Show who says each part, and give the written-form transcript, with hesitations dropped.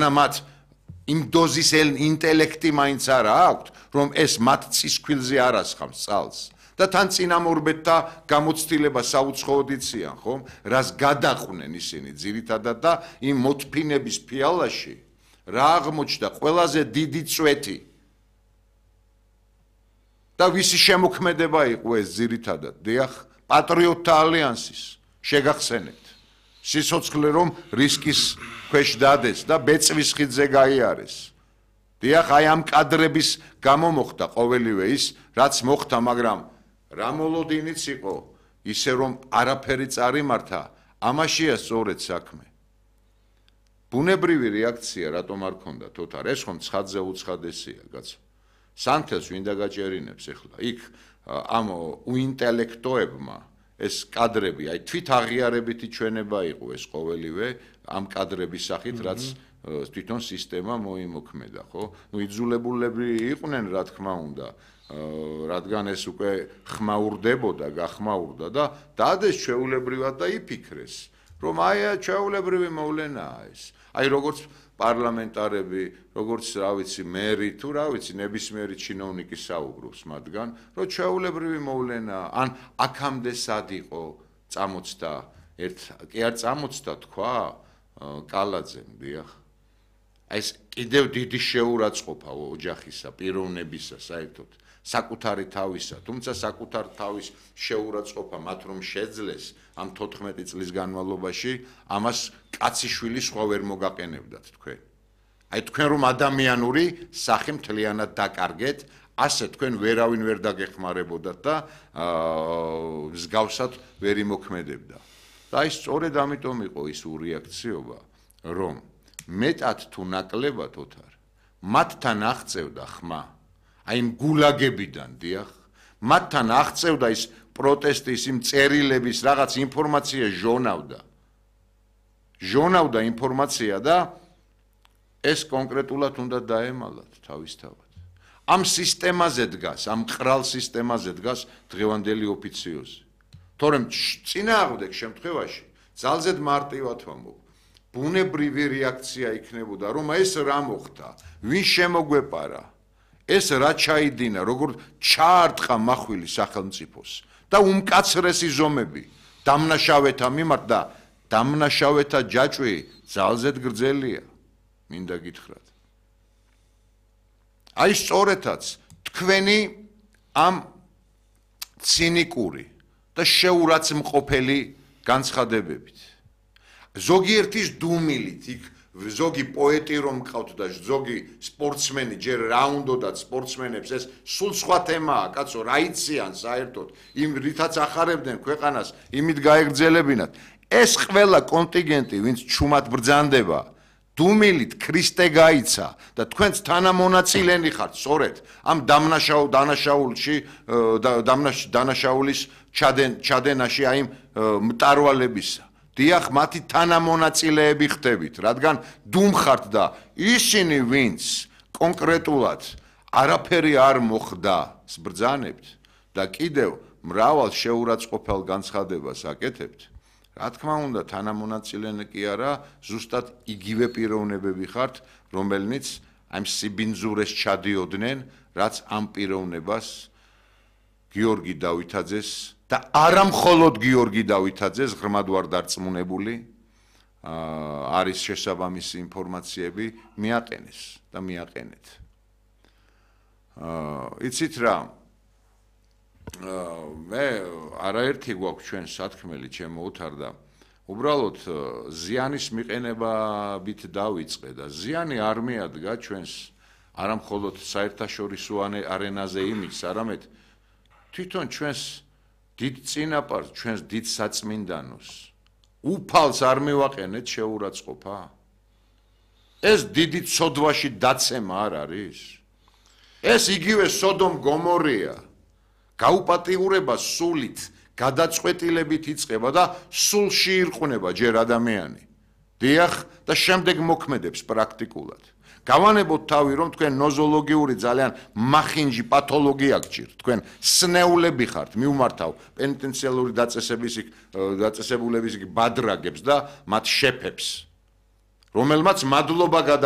Speaker 1: მათ იმ დოზის ინტელექტი მაინც არა აქვთ, რომ ეს მათ ცისქვილზე არ ასხამს წალს. და თან წინამორბედთა გამოცდილება საუცხოოდ იციან, ხომ? რას გადაყვნენ ისინი ძირითადად და იმ მოთფინების ფიალაში რა აღმოჩნდა ყველაზე დიდი წვეთი. და ვისი შემოქმედება იყო ეს ძირითადად? დიახ, პატრიოტთა ალიანსის. შეგახსენებთ. სიცოცხლე რომ რისკის ქვეშ დადეს და ბეწვის ხიდზე გაიარეს. დიახ, აი ამ კადრების გამო მოხდა ყოველივე ის, რაც მოხდა, მაგრამ რა მოლოდინიც იყო, ისე რომ არაფერი წარიმართა, ამაშია სწორედ საქმე. ბუნებრივი რეაქცია რატომ არ ქონდათ ოთარ? ეს ხომ ცხადზე უცხადესია, კაცო. სანთელს ვინდა გაჭერინებს ახლა? იქ ამ უინტელექტოებმა ეს კადრები, აი თვით აღიარებითი ჩვენება იყო ეს ყოველივე ამ კადრების სახით, რაც თვითონ სისტემა მოიმოქმედა, ხო? ნუ იძულებულები იყვნენ, რა თქმა უნდა, რადგან ეს უკვე ხმაურდებოდა, გახმაურდა და დადეს ჩვეულებრივად და იფიქრეს, რომ აი ჩვეულებრივი მოვლენაა ეს. აი როგორც პარლამენტარები, როგორც რა ვიცი, მერი თუ რა ვიცი, ნებისმიერი ჩინოვნიკი საუბრობს მათგან, რომ ჩვეულებრივი მოვლენაა, ან აქამდე სად იყო წამოწდა კი არ წამოწდა თქვა კალაძემ, დიახ. აი ეს კიდევ დიდი შეურაცხყოფა ოჯახისა, პიროვნებისა საერთოდ, საკუთარი თავისა, თუმცა საკუთარ თავის შეურაცხყოფა მათ რომ შეძლეს ამ 14 წლის განმავლობაში, ამას კაციშვილი სხვა ვერ მოგაყენებდათ თქვენ. აი თქვენ რომ ადამიანური სახე მთლიანად დაკარგეთ, ასე თქვენ ვერავინ ვერ დაგეხმარებოდათ და მსგავსად ვერ იმოქმედებდა. და აი სწორედ ამიტომ იყო ის ურეაქციობა, რომ მეტად თუ ნაკლებად ოთარ, მათთან აღწევდა ხმა, აი იმ გულაგებიდან, დიახ, მათთან აღწევდა ის პროტესტის, იმ წერილების რაღაც ინფორმაცია ჟონავდა ინფორმაცია და ეს კონკრეტულად უნდა დაემალათ თავისთავად. ამ სისტემაზე დგას, ამ ყრალ სისტემაზე დგას დღევანდელი ოფიციოზი. თორემ წინააღმდეგ შემთხვევაში ძალზედ მარტივად ვამბობ, ბუნებრივი რეაქცია იქნებოდა, რომ ეს რა მოხდა, ვინ შემოგვეპარა, ეს რა ჩაიდინა, როგორ ჩაარტყა მახვილი სახელმწიფოს და უმკაცრესი ზომები დამნაშავეთა მიმართ და დამნაშავეთა ჯაჭვი ძალზედ გრძელია, მინდა გითხრათ. აი სწორედაც თქვენი ამ ცინიკური და შეურაცხმყოფელი განცხადებებით. ზოგიერთის დუმილით, იქ ზოგი პოეტი რომ მყავთ და ზოგი სპორტსმენი, ჯერ რა უნდათ სპორტსმენებს, ეს სულ სხვა თემაა, კაცო, რა იციან საერთოდ, იმ რითაც ახარებდნენ ქვეყანას, იმით გაეგრძელებინათ. ეს ყველა კონტინგენტი, ვინც ჩუმად ბრძანდება, დუმილით ქრისტე გაიცა და თქვენც თანამონაწილენი ხართ, სწორედ ამ დანაშაულის ჩადენაში აი მტარვალებისა. დიახ, მათი თანამონაწილეები ხდებით, რადგან დუმ ხართ და ისინი, ვინც კონკრეტულად არაფერი არ მოხდა, ბრძანებთ და კიდევ მრავალ შეურაცხყოფელ განცხადებას აკეთებთ. რა თქმა უნდა, თანამონაწილენი კი არა, ზუსტად იგივე პიროვნებები ხართ, რომელნიც ამ სიბინძურეს ჩადიოდნენ, რაც ამ პიროვნებას გიორგი დავითაძეს და არა მხოლოდ გიორგი დავითაძეს, ღრმად ვარ დარწმუნებული, არის შესაბამისი ინფორმაციები, მიაყენეს და მიაყენეთ. იცით რა, მე არაერთი გვაქვს ჩვენ სათქმელი, ჩემო ოთარ და უბრალოდ ზიანის მიყენებით დავიწყე და ზიანი არ მიადგა ჩვენს არა მხოლოდ საერთაშორისო არენაზე იმის, არამედ თვითონ ჩვენს დიდ წინაპარს, ჩვენს დიდ საწმინდანოს უფალს არ მივაყენეთ შეურაცხყოფა? ეს დიდი ცოდვაში დაცემა არ არის? ეს იგივე სოდომ გომორია. გაუპატიურება სულით, გადაწყვეტილებით იწყება და სულში ირყნება ჯერ ადამიანი. დიახ, და შემდეგ მოქმედებს პრაქტიკულად. გავანებოთ თავი, რომ თქვენ ნოზოლოგიური ძალიან მახინჯი პათოლოგია გჭირთ, თქვენ სნეულები ხართ, მივმართავ პენიტენციალური დაწესებულების ბადრაგებს და მათ შეფებს, რომელმაც მადლობა გადაუხადეთ.